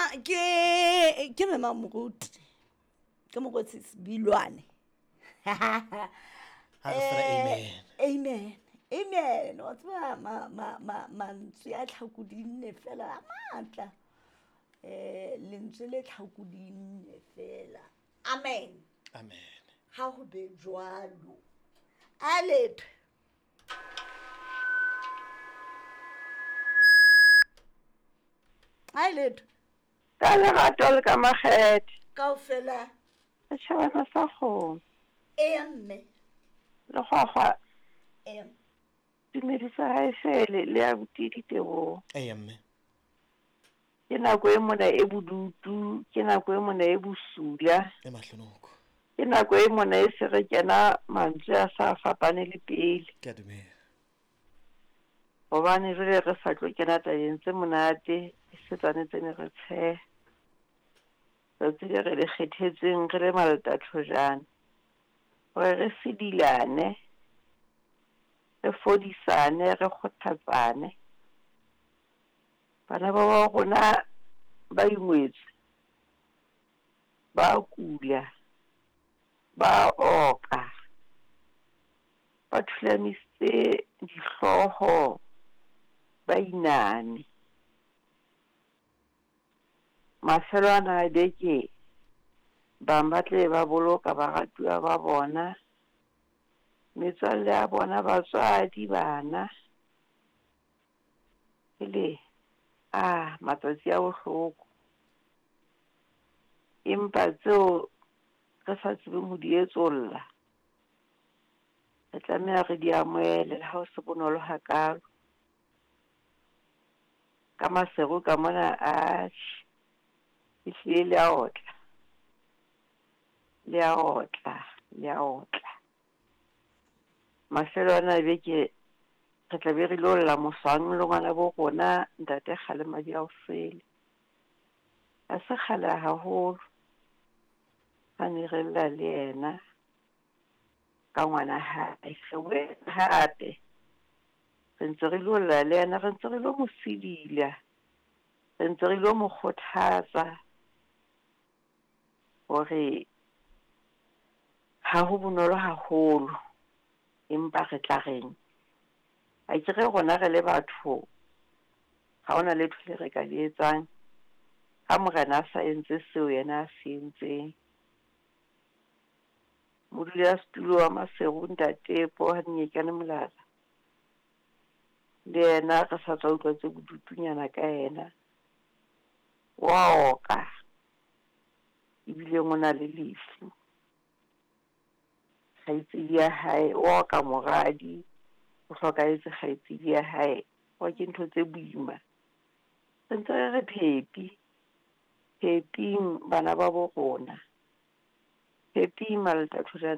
Ke mema moruti ke mokgotsi Sebilwane. Ha re fela amen. Amen. Amen. Wa tseba mantswe a tlhakodinne fela a matla. Lentswe le tlhakodinne fela. Amen. Amen. Ha ho be jwalo. A letho. A letho. Ka lerato le ka makgethe. Kaofela. Setjhabana sa kgomo. Eya mme. Lekgwakgwa. Eya. Tumediso ha e fele le abuti Diteboho. Eya mme. Ke nako e mona e bodutu, ke nako e mona e bosula. E mahlonoko. Ke nako e mona e se re kena mantswe a sa fapane le pele. Ke a dumela. Hobane jwale re sa tlo kena tabeng tse monate, e se tsane tse ne re tsheha. Tsatsi le re le kgethetsweng re le maltathojana, hore re sedilane, re fodisane, re kgothatsane. Bana ba ba rona ba ingwetswe, ba kula, ba oka, ba thulamisitse dihlooho, ba iname. Mafelo ana a beke, bang ba tle ba boloka baratuwa ba bona, metswalle ya bona, batswadi, bana. Ele a matsatsi a bohloko. Empa tseo re sa tsebeng ho di etsolla, re tlameha re di amohele le ha ho se bonolo hakalo. Ka Maseru ka mona, atjhe, ehlile le a otla, le a otla, le a otla. Mafelo ana a beke re tla be re lo lla moswang le ngwana bo rona ntate Kgalemadi a Osele. Ha se kgale haholo ha ne re lla le yena ka ngwana hae. Re boetse hape re ntse re lo lla le yena, re ntse re lo mo sidila, re ntse re lo mo kgothatsa hore ha ho bonolo haholo, empa re tla reng. Akere rona re le batho ha hona letho le re ka le etsang ha morena a sa entse seo yena a se entseng. Modulasetulo wa Maseru ntate Pohannyekane Molala, le yena re sa tswa utlwa tse bodutunyana ka yena. Wa oka, ebileng o na le lefu. Kgaitsedi ya hae, o oka moradi, o hlokahetse kgaitsedi ya hae. Wa ke ntho tse boima. Re ntse re re phepi, pheping bana ba bo rona. Pheping Maltathojane.